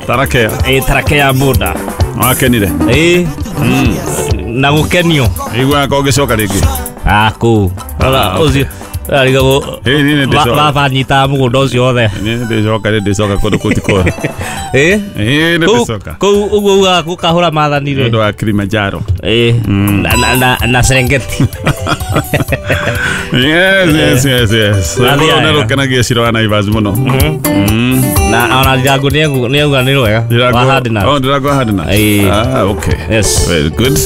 Tarakea. Ĩ, Tarakea boda. Wakenire? Ĩ, na gũkenio. Iguaga ko ngĩcoka rĩngĩ. Kũu ũcio arigagwo. Ĩ, niĩ nĩ ndĩcoka. Baba nyitaga mũgũnda ũcio wothe. Niĩ nĩ ndĩcoka, nĩ ndĩcoka kũndũ kũu ti kwega. Ĩ. Ĩ, nĩ Kũu ndĩcoka. kũu ũguo ugaga gũkahũra maathani Nĩ rĩ. ũndũ wa Kilimanjaro. Ĩ, na Serengeti. Yes. Na Rwĩmbo thiaga. rũu nĩ rũkenagia Ciro wa Naivas mũno. Na ona Ndirango nĩauga nĩ rwega. Wa Hardnut. Oh, Ndirango wa Hardnut. Ĩ. Ah, okay. Yes. Very good.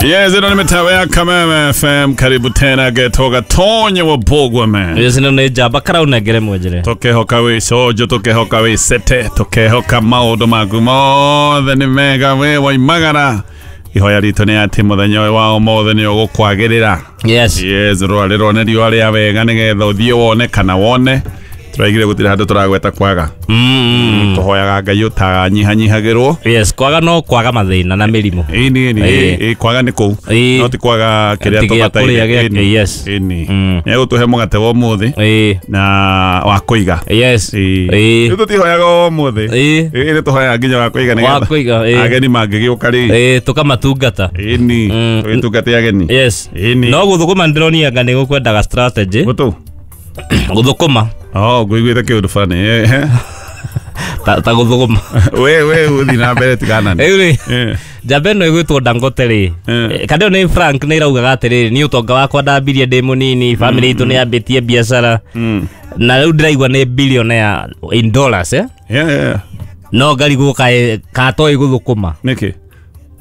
Yes, ĩno nĩ mĩtawa ya Kameme FM. Karibu tena getoga tonye wa Bogwa man. Yes, ĩno nĩ njamba karaunengere mwenjere. Tũkehoka wĩ cojo, tũkehoka wĩ sete, tũkehoka maũndũ maku mothe nĩ mega wĩ waimagara. Ihoya ritũ nĩ atĩ mũthenya ũyũ wa ũmũthĩ nĩ ũgũkwagĩrĩra. Yes. Yes, rwarĩrwo nĩ riũa rĩa wega nĩgetha ũthiĩ wone kana wone. Tũraigire gũtirĩ handũ tũragweta kwaga. Tũhoyaga Ngai ũtanyihanyihagĩrwo. Yes, kwaga no kwaga mathĩna na mĩrimũ. Ĩni ĩni. Ĩĩ. Ĩ, kwaga nĩ kũu. Ĩĩ. No ti kwaga kĩrĩa Ti gĩa tũbataire. kũrĩa gĩa- Ĩni. yes. Ĩni. Nĩ egũtũhe mũgate wa ũmũthĩ Ĩ. na wa kũiga. Yes. Ĩĩ. Ĩ. Rĩu tũtihoyaga o ũmũthĩ. Ĩĩ. Ĩĩ, nĩ tũhoyaga nginya wa kũiga Wa nĩgetha kũiga, ĩĩ. ageni mangĩgĩũka rĩ. Ĩ, tũkamatungata. Ĩni. Tũgĩtungate ageni. Yes. Ĩni. No gũthũkũma ndĩronia anga nĩ gũkwendaga strategy. Gũtũ. Gũthũkũma. Oh, ngũiguĩte kĩũndũ fulani. Eh. Ta gũthũkũma. We ũthiĩ na mbere tigana. Rĩu rĩ, Eh. njamba ĩno ĩgwĩtwo Dangote rĩ. Eh. Kana ĩyo nĩ Frank nĩ ĩraugaga atĩrĩrĩ, niĩ ũtonga wakwa ndambirie ndĩ mũnini, family itũ nĩ yambĩtie biacara. Na rĩu ndĩraigua nĩ billionaire in dollars, eh? Yeah. No ngarigwo kaĩ katoĩ gũthũkũma. Nĩkĩ?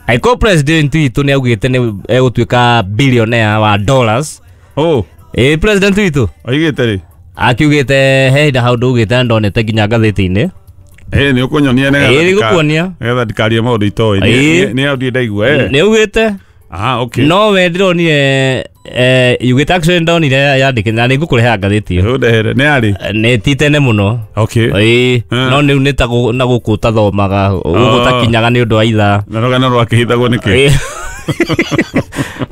Angĩkorwo president witũ nĩ augĩte nĩ egũtuĩka billionaire wa dollars. Oh, Ĩ, president witũ oigĩte rĩ. akiugĩte he hĩndĩ hau ndũgĩte na ndonete nginya ngathĩti-inĩ. Ĩ, nĩ ũkũnyonia nĩgetha Ĩ, nĩngũkuonia. nĩgetha ndikarie maũndũ itoĩ. Ĩ. Nĩ hau ndirĩ ndaigua. Eh. Nĩ augĩte. Ah, okay. No we ndĩronire yugĩte actually ndonire yandĩkĩte na nĩngũkũrehera ngathĩti ĩyo. Ũndehere. Nĩ yarĩ. Nĩ ti tene mũno. Okay. Ĩ, Eh. no rĩu nĩ ta na gũkũ ũtathomaga, gũkũ ũtakinyaga nĩ ũndũ wa ithaa. Na rũgano rwakĩhithagwo nĩkĩ? Ĩ.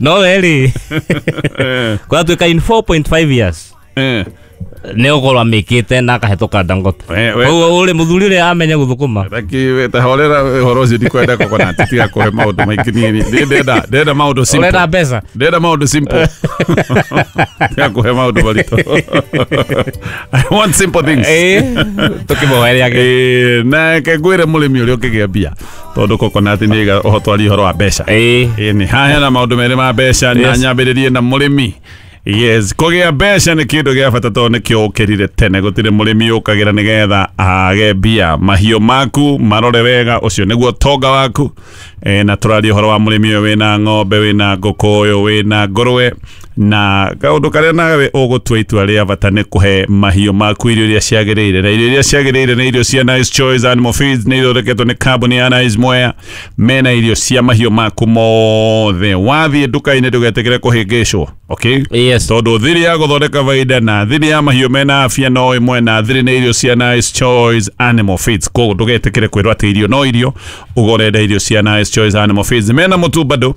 No we rĩ, Eh. kũratuĩka in 4.5 years Eh. nĩ ũkorwo amĩkĩte na akahĩtũka Dangote. Koguo ũrĩ mũthuri ũrĩa amenye gũthũkũma. Reki tahorera ũhoro ũcio ndikwenda kũgona tiga kũhe maũndũ maingĩ niĩ. Niĩ ndĩrenda maũndũ simple. Ũrenda mbeca? Ndĩrenda maũndũ simple. Tiga kũhe maũndũ maritũ. I want simple things. Ĩ, tũkĩmũhoere agĩ. Ĩ, na reke ngwĩre mũrĩmi ũrĩa ũkĩgĩa mbia tondũ coconut nĩ ĩga ũhotwari ũhoro wa mbeca. Ĩ. Ĩ, nĩ haha hena maũndũ merĩ ma mbeca na Yes. nyambĩrĩrie na mũrĩmi. Yes, kũgĩa mbeca nĩ kĩndũ gĩa bata tondũ nĩkĩo ũkĩrire tene. Gũtirĩ mũrĩmi ũkagĩra nĩgetha age mbia. Mahiũ maku marore wega, ũcio nĩguo tonga waku. Na tũraria ũhoro wa mũrĩmi ũyũ wĩna ng'ombe, wĩna ngũkũ, ũyũ wĩna ngũrwe. Na kaũndũ karĩa nawe ũgũtua itua rĩa bata nĩ kũhe mahiũ maku irio iria ciagĩrĩire. Na irio iria ciagĩrĩire nĩ irio cia Nice Choice Animal Feeds, nĩ ithondeketwo nĩ kambuni ya Nice Mwea. Mena irio cia mahiũ maku mothe. Wathiĩ nduka-inĩ ndũgetĩkĩre kũhĩngĩcwo. Okay? Yes. Tondũ thiri ya gũthondeka baida na thiri ya mahiũ mena afya no ĩmwe na thiri nĩ irio cia Nice Choice Animal Feeds. Koguo ndũgetĩkĩre kwĩrwo atĩ irio no irio, ũgũrenda irio cia Nice Choice Animal Feeds. Mena mũtu bado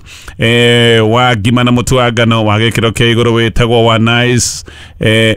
wa ngima na mũtu wa ngano wa gĩkĩro kĩa igũrũ wĩtagwo wa Nice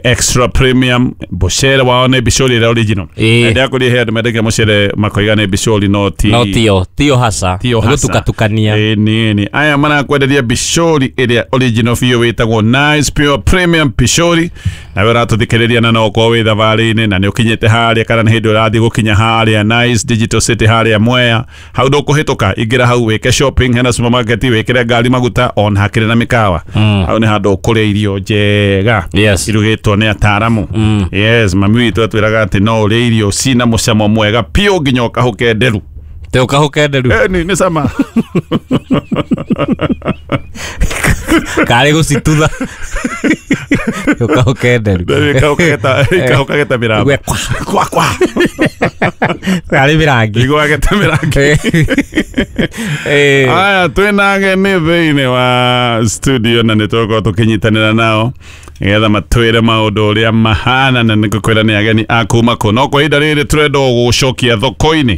Extra Premium. Mũcere wao nĩ bicori ĩrĩa original. Ĩ. Ndĩrakũria he andũ mendagia mũcere makoiga nĩ bicori no ti No tio, tio hasa. Tio hasa. Gũtukatukania. Ĩ, nĩ aya marakwenderia bicori ĩrĩa original biũ wĩtagwo Nice Pure Premium Bicori. Nawe ũratũthikĩrĩria na no ũkorwo wĩ thabarĩ-inĩ na nĩ ũkinyĩte harĩa kana nĩ hĩndĩ ũrathiĩ gũkinya harĩa Nice Digital City harĩa Mwea, hau ndũkũhĩtũka, ingĩra hau wĩke shopping, hena supermarket wĩkĩre ngari maguta ona hakĩrĩ na mĩkawa. Hau nĩ handũ ũkũrĩa irio njega. Yes. Irugĩtwo nĩ ataaramu. Yes, mami witũ atwĩraga atĩ no ũrĩe irio cina mũcamo mwega piũ nginya ũkahũke nderu. Te ũkahũke nderu. Nĩ cama. Karĩ gũcitutha. Ũkahũke nderu. Ikahũkageta mĩrango. Igwe kwa. Kwa kwa. Karĩ mĩrangi. Igwagete mĩrangi. Ĩ. Aya, twĩna ageni thĩinĩ wa studio na nĩ tũgũkorwo tũkĩnyitanĩra nao. Nĩgetha matwĩre maũndũ ũrĩa mahana na nĩngũkwĩra nĩ ageni a kuma kũ. No kwa ihinda rĩrĩ tũrenda gũgũcokia thoko-inĩ,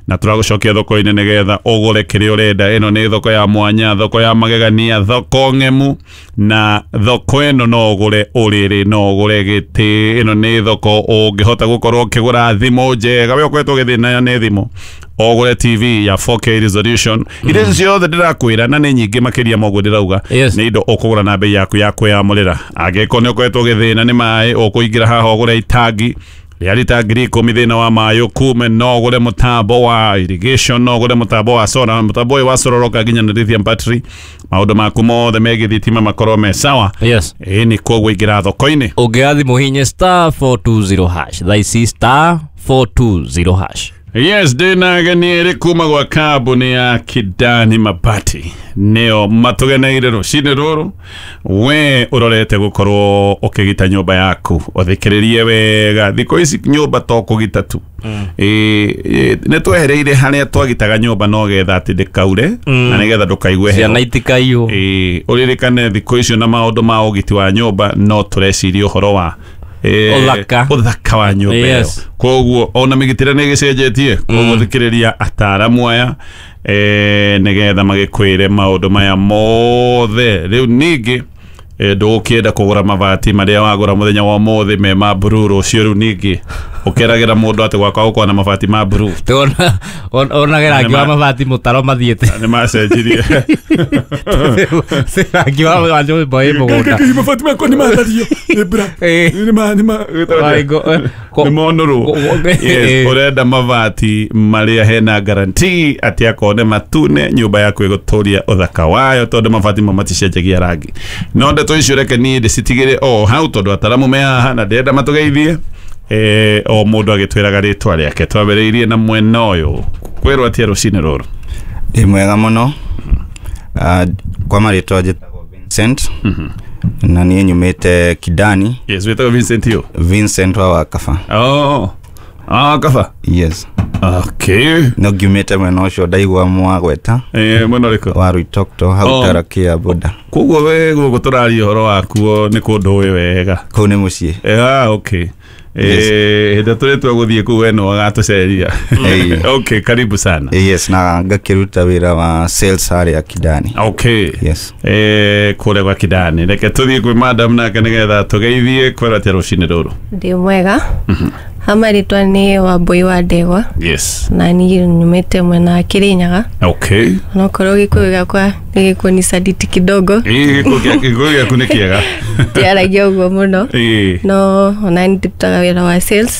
na tũragũcokia thoko-inĩ nĩgetha ũgũre kĩrĩa ũrenda. Ĩno nĩ thoko ya mwanya, thoko ya magegania, thoko ng'emu, na thoko ĩno no ũgũre ũrĩrĩ, no ũgũre gĩtĩ. Ĩno nĩ thoko ũngĩhota gũkorwo ũkĩgũra thimũ njega. We ũkoretwo ũgĩthĩna nĩ thimũ, ũgũre TV ya 4K resolution. Indo icio ciothe ndĩrakwĩra na nĩ nyingĩ makĩria ma ũguo ndĩrauga, Yes. nĩ indo ũkũgũra na bei yaku ya kwĩyamũrĩra. Angĩkorwo nĩ ũkoretwo ũgĩthĩna nĩ maĩ, ũkũingĩra haha ũgũre itangi rĩa rita 10,000, thĩna wa maĩ ũkume. No ũgũre mũtambo wa irrigation, no ũgũre mũtambo wa solar. Mũtambo ũyũ wa solar ũroka nginya na lithium battery, maũndũ maku mothe megiĩ thitima makorwo me sawa. Yes. Ĩĩ, nĩ koguo ingĩra thoko-inĩ. Ũngĩoya thimũ hinye *420# thaa ici, *420#. Yes, ndĩna ageni erĩ kuma gwa kambuni ya Kidani Mabati, nĩo matũgeneire rũcinĩ rũrũ. We ũrorete gũkorwo ũkĩgita nyũmba yaku, ũthikĩrĩrie wega. Thikũ ici nyũmba to kũgita tu. Ĩ, nĩ twehereire harĩa twagitaga nyũmba no getha atĩ ndĩkaure na nĩgetha ndũkaigue heho. Ciana itikaiywo. Ĩ, ũririkane thikũ icio na maũndũ ma ũgiti wa nyũmba no tũreciria ũhoro wa Ũthaka. Ũthaka wa nyũmba ĩyo. Yes. Koguo ona mĩgitĩre nĩ ĩgĩcenjetie, koguo thikĩrĩria ataaramu aya nĩgetha magĩkwĩre maũndũ maya mothe. Rĩu ningĩ ndũgũkĩenda kũgũra mabati marĩa wagũra mũthenya wa ũmũthĩ me ma blue, rũciũ rĩu ningĩ ũkeragĩra mũndũ atĩ gwakwa gũkorwo na mabati ma blue. Onage rangi wa mabati mũtaro mathiĩte. Nĩ macenjirie. Rangi wa nyũmba ĩ mũgũnda. Mabati makwa nĩ mathario nĩ mbura. Ĩ. Nĩ ma nĩ ma nĩ monũrwo. Yes, ũrenda mabati marĩa hena guarantee atĩ akorwo nĩ matune, nyũmba yaku ĩgũtũria ũthaka wayo, tondũ mabati mo maticenjagia rangi. No ndeto icio reke niĩ ndĩcitigĩre o hau, tondũ ataramu me haha na ndĩrenda matũgeithie, o mũndũ agĩtwĩraga rĩtwa rĩake. Twambĩrĩirie na mwena ũyũ. Kwĩrwo atĩa rũcinĩ rũrũ? Ndĩ mwega mũno. Kwa marĩtwa njĩtagwo Vincent na niĩ nyumĩte Kidani. Yes, wĩtagwo Vincent yo? Vincent wa Wakaba. Oh, ah, kaba. Yes. Okay. No ngiumĩte mwena ũcio ndaigua mwagweta. Mwena ũrĩkũ? Wa Ruitokto hau. Oh. Tarakia boda. Koguo we gũkũ tũraria ũhoro wakuo nĩ kũndũ ũĩ wega. Kũu nĩ mũciĩ. Ah, okay. Yes. Hĩndĩ tũrĩ twa gũthiĩ kũu we no agatũceria. Ĩĩ. Okay, karibu sana. Yes, na ngakĩruta wĩra wa sales harĩa Kidani. Okay. Yes. Kũrĩa gwa Kidani. Reke tũthiĩ kwĩ madam nake nĩgetha tũgeithie. Kwĩrwo atĩa rũcinĩ rũrũ? Ndĩ mwega. Hama rĩtwa nĩ Wambui wa Ndegwa. Yes. Na niĩ nyumĩte mwena wa Kirinyaga. Okay. Onokorwo gĩkũyũ gĩakwa nĩ gĩkũnisaliti kidogo. Ĩĩ, gĩkũyũ gĩaku nĩ kĩega. Ndiaragia ũguo mũno. Ĩĩ. No ona nĩ ndutaga wĩra wa sales.